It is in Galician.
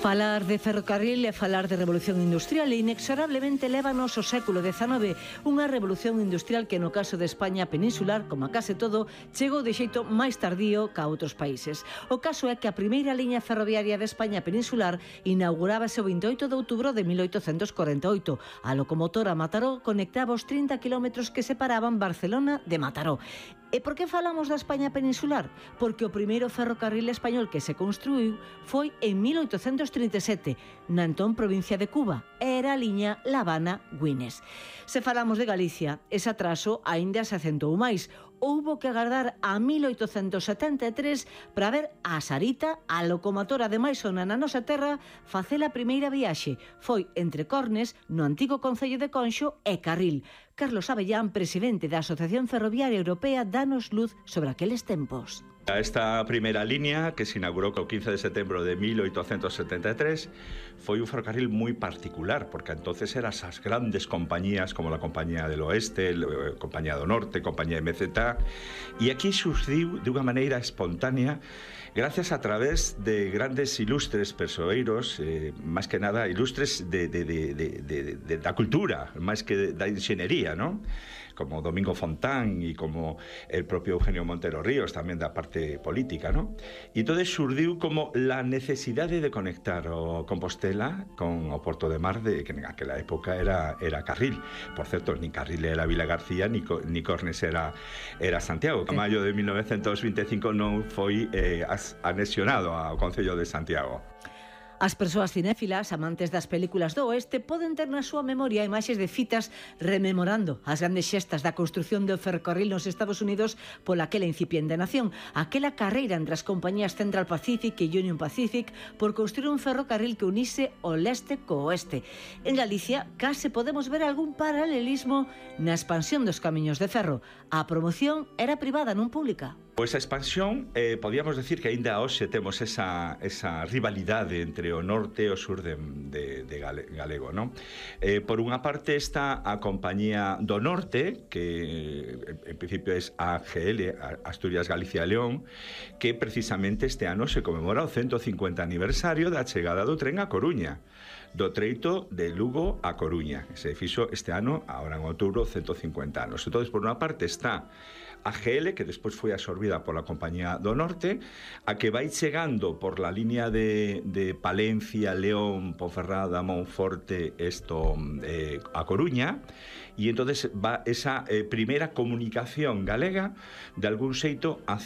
Falar de ferrocarril é falar de revolución industrial e inexorablemente lévanos ao século XIX, unha revolución industrial que no caso de España peninsular, como a case todo, chegou de xeito máis tardío ca outros países. O caso é que a primeira liña ferroviaria de España peninsular inaugurábase o 28 de outubro de 1848. A locomotora Mataró conectaba os 30 kilómetros que separaban Barcelona de Mataró. E por que falamos da España peninsular? Porque o primeiro ferrocarril español que se construiu foi en 1837, na entón provincia de Cuba. Era a liña La Habana-Güines. Se falamos de Galicia, ese atraso aínda se acentou máis. Houbo que agardar a 1873 para ver a Sarita, a locomotora de máis sona na nosa terra, facer a primeira viaxe. Foi entre Cornes, no antigo concello de Conxo, e Carril. Carlos Avellán, presidente da Asociación Ferroviaria Europea, danos luz sobre aqueles tempos. Esta primeira línea, que se inaugurou o 15 de setembro de 1873, foi un ferrocarril moi particular, porque entonces eran as grandes compañías como a Compañía del Oeste, a Compañía do Norte, a Compañía MZ, e aquí surgiu de unha maneira espontánea gracias a través de grandes ilustres persoeiros, máis que nada ilustres da cultura, máis que da inxeniería, non? Como Domingo Fontán e como el propio Eugenio Montero Ríos, tamén da parte política, ¿no? E entonces surdiu como la necesidade de conectar o Compostela con o Porto de Mar, que en aquela época era Carril. Por certo, ni Carril era Vila García, ni Cornes era Santiago. A maio de 1925 non foi anexionado ao Concello de Santiago. As persoas cinéfilas, amantes das películas do oeste, poden ter na súa memoria imaxes de citas rememorando as grandes xestas da construción do ferrocarril nos Estados Unidos pola aquela incipiente nación, aquela carreira entre as compañías Central Pacific e Union Pacific por construir un ferrocarril que unise o leste co oeste. En Galicia, case podemos ver algún paralelismo na expansión dos camiños de ferro. A promoción era privada, non pública. Pois a expansión, podíamos decir que aínda hoxe temos esa rivalidade entre o norte e o sur de galego, non? Por unha parte está a Compañía do Norte, que en principio é AGL, Asturias, Galicia e León, que precisamente este ano se conmemora o 150 aniversario da chegada do tren a Coruña, do treito de Lugo a Coruña. Se fixo este ano, agora en outubro, 150 anos. Entón, por unha parte está a GL, que despois foi absorbida pola Compañía do Norte, a que vai chegando por la línea de Palencia, León, Ponferrada, Monforte, a Coruña, e entonces va esa primeira comunicación galega de algún xeito